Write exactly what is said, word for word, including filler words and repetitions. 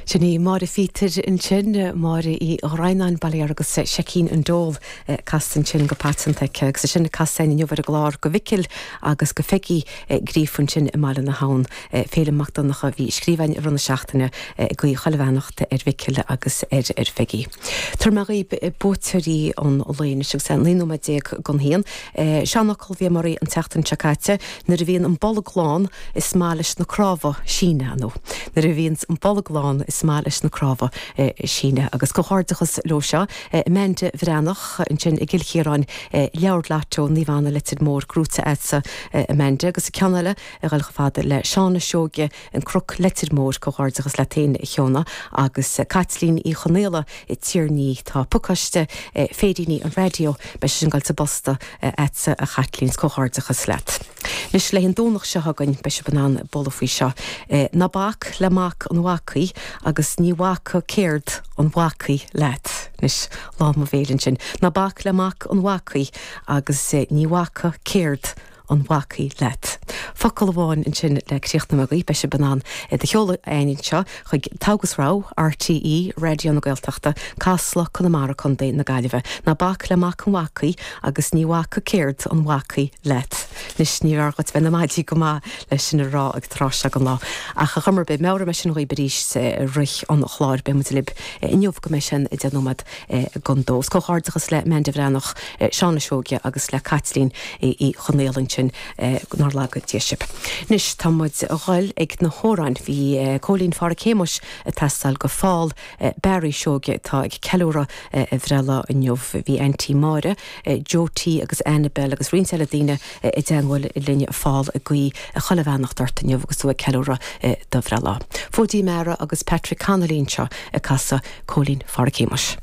Sin í Máire Phíotair ansin Máire Uí Dhroighneáin Baile agus Seicín an Dól casta ansin go paiteanta aici agus sin casadh inniu ar an gclár go Mhicil agus go Pheigí Gríofa ansin i mBaile na hAbhann Féilim Mac Donncha bhí scríbhinn i rith na seachtaine ag guí chuile bheannacht ar Mhicil agus ar ar Pheigí. Tabharfaidh mé dhaoibh buaiteoirí an lae anois agus naoi nóiméad déag don haon. Seanfhocal bhí mar an tseachtain seo caite nuair a bhíonn an bolg lán is maith leis na cnámha síneadh nó nuair a bhíonn an bolg lán is maith leis na cnámha síneadh agus comhghairdeachas leo seo Amanda Bhreathnach ansin i gCill Chiaráin leabhar Lotto Naomh Anna Leitir Móir gnóite agatsa Amanda agus ceann eile a dhul chomh fada le Seána Seoige an Croc Leitir Móir comhghairdeachas leat féin a Sheána agus Caitlín Uí Chonaola i Tír Ní tá pacáiste féiríní an raidió beidh sin ag dul sa bpost agatsa a Chaitlín comhghairdeachas leat. Anois le an Domhnach seo chugainn beidh sibh in ann bualadh faoi seo. Ná bac le mac an bhacaigh agus ní bhacfaidh ceird an bhacaigh leat. Anois lá mo bhéil ansin. Ná bac le mac an bhacaigh agus ní bhacfaidh ceird an bhacaigh leat. Focal amháin ansin le críochnú agaibh beidh sibh in ann do sheoladh chugainn anseo chuig Togha agus Rogha RTÉ Raidió na Gaeltachta, Casla Conamara Contae na Gaillimhe. Ná bac le mac an bhacaigh agus ní bhacfaidh ceird an bhacaigh leat. Anois ní raibh bheith na maidí go maith leis sin a rá ag tráth seo den lá. Ach a chumar be meabhróidh mé sin dhaoibh arís rith an chláir beidh libh inniu go mbeidh sin i deich nóiméad don dó. Comhghairdeachas le Amanda Bhreathnach Seána Seoige agus le Caitlín Uí Chonaola ansin nár laga Dia sibh. Anois tá muid ag dul ag na hamhráin bhí Cóilín Pháraic Shéamuis ag teastáil go Phól Barry Seoige atá ag ceiliúradh a bhreithlá inniu bhí Auntie Máire, Joe T agus Annabel agus roinnt eile daoine i dteagmháil linn Phól ag guí a chuile bheannacht ort inniu agus tú ag ceiliúradh do bhreithlá. Fóidí Meara agus Patrick Connolly anseo ag casadh Cóilín Pháraic Shéamuis.